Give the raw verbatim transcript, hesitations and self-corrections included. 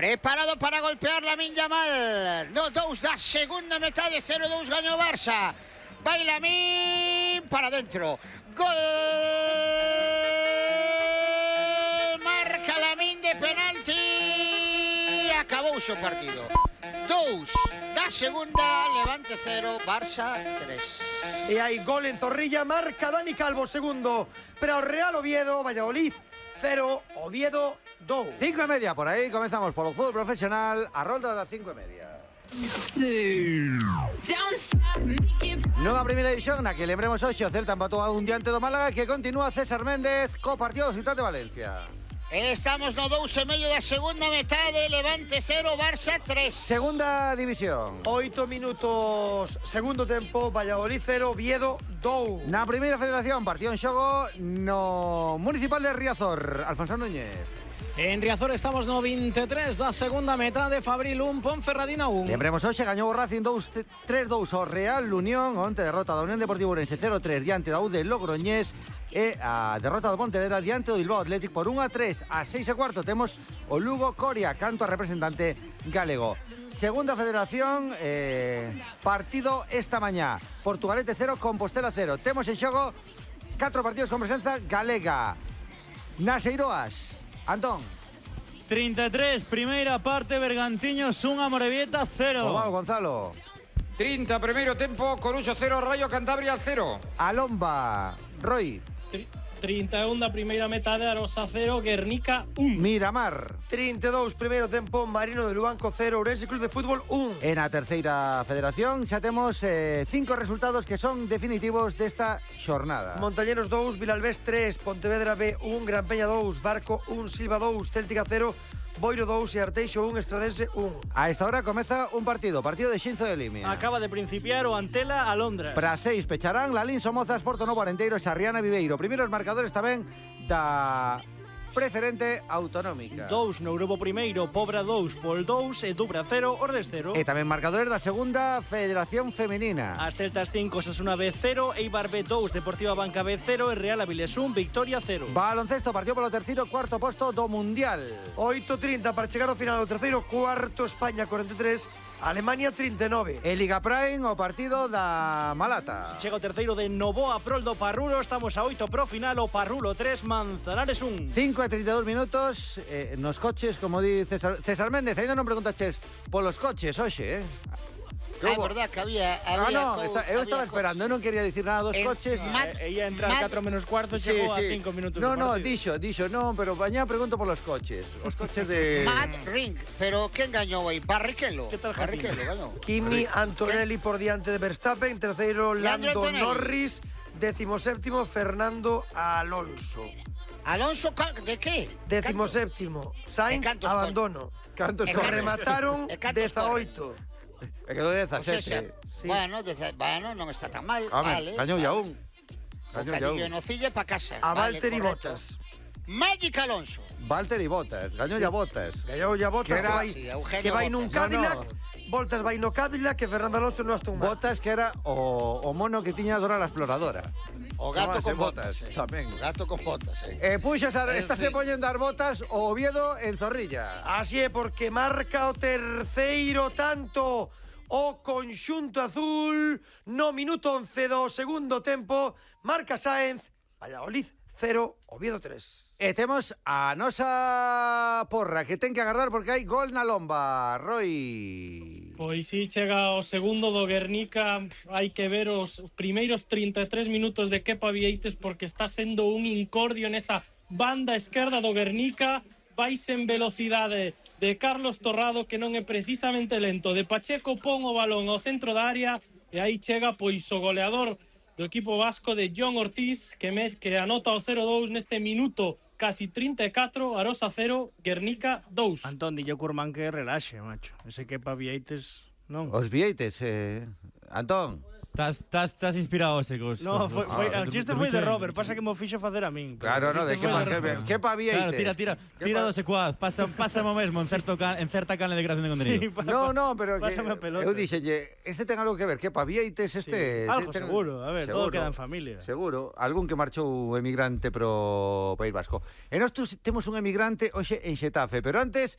Preparado para golpear Lamine Yamal. dos dos da segunda metade, cero dos gaño Barça. Vai Lamine para dentro. Gol! Marca Lamine de penalti. Acabouse o partido. dos da segunda, Levante cero, Barça tres. E hai gol en Zorrilla, marca Dani Calvo segundo. Pero Real Oviedo, Valladolid cero, Oviedo dos. Cinco e media, por aí comezamos polo fútbol profesional, a rolda das cinco e media. Nunha primeira edición na que lembremos hoxe o Celta empatou a un diante do Málaga, que continúa César Méndez co partido do Ciutat de Valencia. Estamos no dous e medio da segunda metade, Levante cero, Barça tres. Segunda división. Oito minutos, segundo tempo, Valladolid cero, Oviedo dos. Na primeira federación, partido en xogo no Municipal de Riazor. Alfonso Núñez. En Riazor estamos no veintitrés da segunda metade, Fabril un, Ponferradina un. Lembremos hoxe, gañou o Racing tres dous ao Real Unión, onte derrota da Unión Deportiva Ourense cero tres diante da U de Logroñés, e a derrota do Pontevedra diante do Bilbao Athletic por un a tres. A seis e cuarto temos o Lugo Coria, canto a representante galego. Segunda federación, eh, partido esta mañá, Portugalete cero, Compostela cero. Temos en xogo catro partidos con presenza galega. Nas Eiroas, Antón. treinta e tres, primeira parte, Bergantiños un, Amorebieta cero. Obao Gonzalo. trinta, primeiro tempo, Coruxo cero, Rayo Cantabria cero. Alomba, Roy. trinta e un da primeira metade, Arosa cero, Guernica un. Miramar. trinta e dous, primeiro tempo, Marino de Luanco cero, Ourense Club de Fútbol un. En a terceira federación xa temos eh, cinco resultados que son definitivos desta xornada. Montañeros dous, Vilalbés tres, Pontevedra B un, Gran Peña dous, Barco un, Silva dous, Céltica cero, Boiro dous e Arteixo un, Estradense un. A esta hora comeza un partido, partido de Xinzo de Limia. Acaba de principiar o Antela a Londres. Para seis pecharán Lalín Somozas, Porto Novo Arenteiro e Sarriana Viveiro. Primeiros marcadores tamén da preferente autonómica. dous no grupo primeiro, Pobra dous, Pol dous e Dubra cero, Ordes cero. E tamén marcadores da segunda federación femenina. As Celtas cinco, Osasuna B cero, Eibar B dous, Deportiva Banca B cero e Real Avilés un, Victoria cero. Baloncesto, partido polo terceiro, cuarto posto do Mundial. oito trinta para chegar ao final do terceiro cuarto, España cuarenta e tres, Alemania trinta e nove. E Liga Prime, o partido da Malata. Chega o terceiro de Novoa prol do Parrulo, estamos a oito pro final, o Parrulo tres, Manzanares un. cinco e trinta e dous minutos, eh, nos coches, como di César, César Méndez, ainda non preguntaches polos coches hoxe, eh? É verdad que había... Ah, había no, está, eu estaba esperando, eu non quería dicir nada dos En coches. Mad- E ia entrar Mad- catro menos cuarto, Sí, chegou sí. a cinco minutos No, do no, partido. dixo, dixo, non, pero mañá pregunto polos coches. Os coches de... Mad Ring, pero quen gañou aí? Barrichello. Que tal, Barrichello gañou. Kimi Antonelli por diante de Verstappen, terceiro Leandro Lando Antonelli. Norris, décimo séptimo Fernando Alonso. Alonso, ca- de que? Décimo séptimo Sainz, E cantos abandono. Cantos E Que cantos- remataron e cantos dezaoito. E quedou O sea, dezasete. Sí. Bueno, dece- bueno, non está tan mal. Home, vale, gañou ya vale. un. O Gañou ya cadillo un. en Ocilla pa casa. A Vale, Valtteri correcto. Bottas. Magic Alonso. Valtteri Bottas, gañou ya Bottas. Gañou ya Bottas, Que que, era- vai, Sí, Eugenio que vai nun Bottas. Cadillac. No, Voltas vai no Cadillac, que Fernando Alonso no Aston Martin. Bottas, que era o, o mono que tiña Dora la Exploradora. O gato Chamase con Botas, botas. eh. tamén. O gato con botas, eh. Eh, puxas, a, En estas fin. se poñen dar botas o Oviedo en Zorrilla. Así é, porque marca o terceiro tanto o conxunto azul no minuto once do segundo tempo. Marca Sáenz, Valladolid cero, Oviedo tres. E temos a nosa porra que ten que agarrar porque hai gol na lomba, Roy. Pois si chega o segundo do Guernica, hai que ver os primeiros trinta e tres minutos de Kepa Vieites porque está sendo un incordio nesa banda esquerda do Guernica, vais en velocidade de Carlos Torrado, que non é precisamente lento, de Pacheco pon o balón ao centro da área e aí chega pois o goleador do equipo vasco de John Ortiz, que, me, que anota o cero dous neste minuto casi trinta e catro, Arosa cero, Guernica dous. Antón, dille Curmán que relaxe, macho. Ese que pa Vieites, non? Os Vieites, eh... Antón. Estás inspirado ese cos. No, foi, foi, Ah, o chiste foi de Robert, pasa que mo fixo facer a min. pero Claro, o no, de chiste que foi pa, que, Robert. que pa Vieites. Claro, tira, tira, Que tira pa- do secuaz, pasa, pasa mo mesmo en certo can, en certa canle de creación de Sí, contenido. pa- No, pa- no, pero que, pásame a pelota. eu dixelle, este ten algo que ver, que pa Vieites este... Sí, algo ten- seguro, a ver, todo queda en familia. Seguro, algún que marchou emigrante pro País Vasco. E nós tus- temos un emigrante hoxe en Xetafe, pero antes